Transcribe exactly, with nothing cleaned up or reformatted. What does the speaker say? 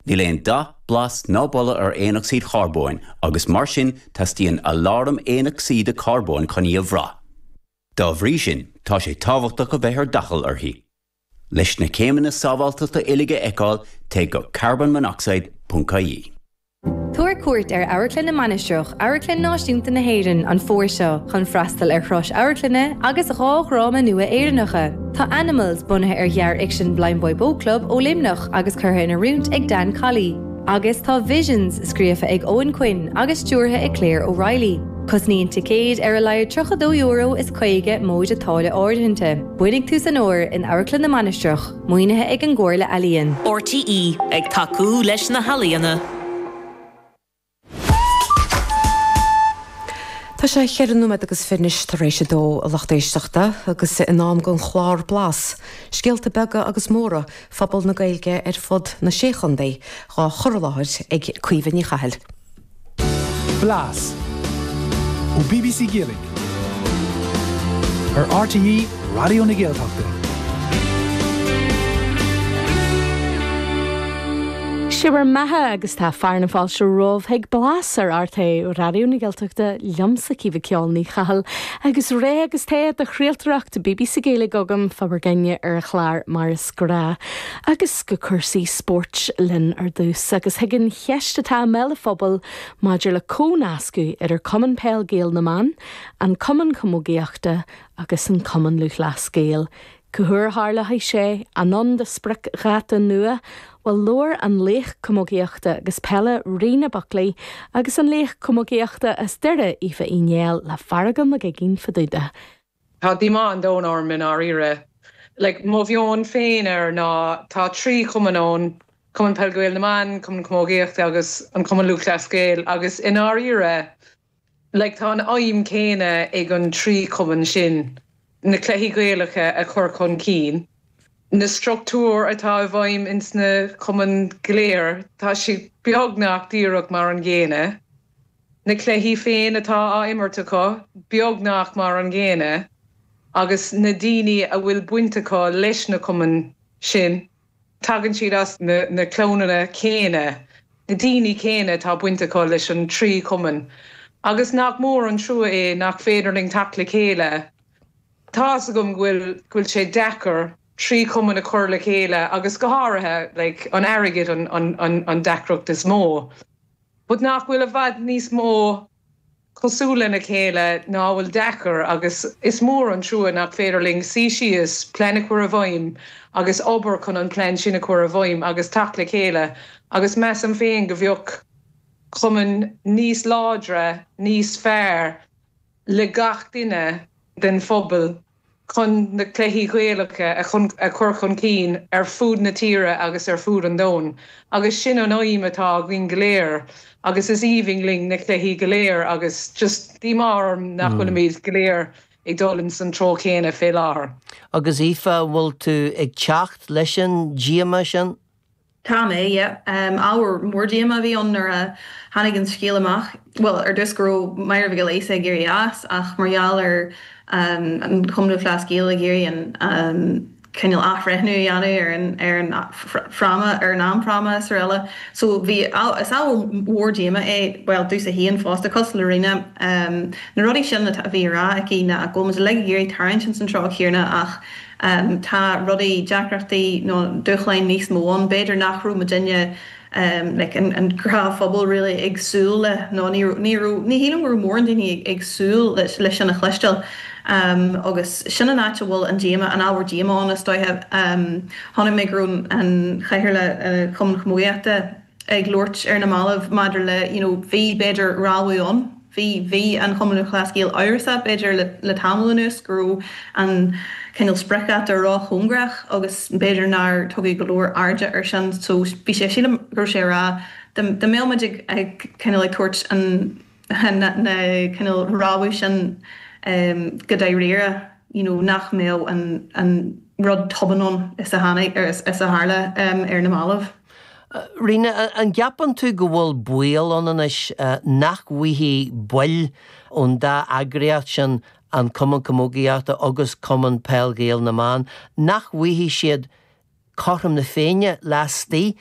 Níl aon dath, blas ná boladh ar aonocsaíd charbóin agus mar sin teastaíonn aláram aonocsaíde carbóin chun í a bhrath. Dá bhrí sin tá sé tábhachtach a bheith ar d'airdeall uirthi. Leis na céimeanna sábháilteachta uilig a fheiceáil téigh go carbonmonoxide.ie. Tabhair cuairt ar Amharclann na Mainistreach, Amharclann Náisiúnta na hÉireann an fómhar seo chun freastal ar thuras amharclainne agus dhá dhráma nua Éireannacha. Tá Animals bunaithe ar ghearrfhicsean Blindboy Boatclub ó Luimneach agus curtha in oiriúint ag Dan Colley. Agus tá Visions scríofa ag Owen Quinn agus stiúrtha ag Claire O'Reilly. Cosnaíonn ticéid ar a laghad tríocha dó euro is caoga móide táille áirithinte. Bainfidh tú san uair in Amharclann na Mainistreach, maoinithe ag an gComhairle Ealaíon. RTÉ ag tacú leis na healaíona. Tá sé cheithre nóiméad agus fiche tar éis a dó a lucht éisteachta agus in am don chlár Blas, scéalta beaga agus móra phobal na Gaeilge ar fud na sé chontae á chur i láthair ag Caoimhe Ní Chathail. Blas ó BBC Gaeilge ar RTÉ Raidió na Gaeltachta. Sé bhur mbeatha agus tá fear na fáilte romhaibh chuig Blas ar RTÉ Raidió na Gaeltachta liomsa Caoimhe Ceol Ní Chathail agus ré agus té de chraoltóireacht BBC Gaeilge agam fá bhur gcoinne ar an chlár mar is gnách agus go cúrsaí spóirt linn ar dtús agus chuig an cheist atá i mbéal an phobail maidir le cónascadh idir Cumann Peil Gael na mBan, an Cumann Camógaíochta agus an Cumann Lúthchleas Gael. Cá huair a tharlóidh sé an ann do spriocdháta nua, Well labhair an laoch camógaíochta agus peile Ríona Buckley agus an laoch camógaíochta as Doire Aoife Uí Néill le Feargal Mac Uiginn fá dtaobh de. Tá díomá an domhain orm i ndáiríre. Like, mo mheon féin air ná tá trí chumann ann, Cumann Peil Gael na mBan, Cumann Camógaíochta agus an Cumann Lúthchleas Gael agus i ndáiríre like, tá an aidhm céanna ag an trí chumann sin na cluichí Gaelacha a chur chun cinn. Na struchtúir atá i bhfeidhm ins na cumainn go léir tá siad beagnach díreach mar an gcéanna. Na cluichí féin atá á imirt acu beagnach mar an gcéanna, agus na daoine a bhfuil baint acu leis na cumainn sin tagann siad as na, na clanna céanna, na daoine céanna atá baint acu leis an trí chumann. Agus nach mór an trua é nach féidir linn teacht le chéile. Tá's agam go bhfuil go bhfuil sé deacair trí chumann a chur le chéile agus go háirithe like, an airgead an, an, an, an deacracht is mó. But nach bhfuil i bhfad níos mó cosúil lena chéile ná bhfuil deacair agus is mór an trua nach féidir linn suí síos plean a chur i bhfeidhm agus obair chun an plean sin a chur i bhfeidhm agus teacht le chéile agus measaim féin go bheadh cumann níos láidre, níos fearr le gach duine den phobal chun na cluichí Gaelacha a chun a chur chun cinn ar fud na tíre agus ar fud an domhain. Agus sin an aidhm atá againn go léir agus is aoibhinn linn na cluichí go léir agus just díomá orm nach bhfuilimid go léir ag dul in san treo céanna fé láthair. Agus Aoife bhfuil tú ag teacht leis an díomá sin? Tá mé, yeah. Um, ábhar mór díomá a bhí ann nuair a tháinig an scéal amach. Well, ar dtús go raibh Máire Mhic Giolla Íosa ag éirí as ach mar gheall ar um, an Cumann Lúthchleas Gael ag iarraidh an um, cineál athbhreithniú a dhéanamh ar an ar an fráma ar an amfráma is araile. So bhí is ábhar mór díomá é well domsa féin fosta cosúil le Ríona um, na rudaí sin a bhí á rá aici ná go bhfuil muid ag iarraidh tarraingt san treo céanna ach um, tá rudaí deacrachtaí nó dúshláin níos mó ann b'fhéidir nach raibh muidinne um, like, an, an gnáthphobal really ag súil le nó ní ní ní shílim go raibh mórán daoine ag súil leis leis sin a chloisteáil. Um, agus sin an áit a bhfuil an díomá an ábhar díomá ann is dóiche um, chonaic mé go raibh an Cathaoirleach uh, Chumann Camógaíochta ag labhairt ar na mallaibh maidir le you know, bhí b'fhéidir rabhadh ann bhí bhí an Cumann Lúthchleas Gael amhrasach b'fhéidir le, le tamall anuas go raibh an cineál spriocdháta róchóngarach agus b'fhéidir nár tugadh go leor airde ar sin so bhí sé sílim go raibh sé rá dá mbeadh muid ag ag cineál ag tabhairt an na, na cineál rabhadh sin um, go dáiríre you know, nach mbeadh an, an rud tobann ann is a tháinig ar is, is a tharla um, ar na mallaibh. Ríona an gceapann tú go bhfuil baol ann anois nach bhfaighidh baill ón dá eagraíocht sin an Cumann Camógaíochta agus Cumann Peil Gael na mBan, nach bhfaighidh siad cothrom na Féinne laistigh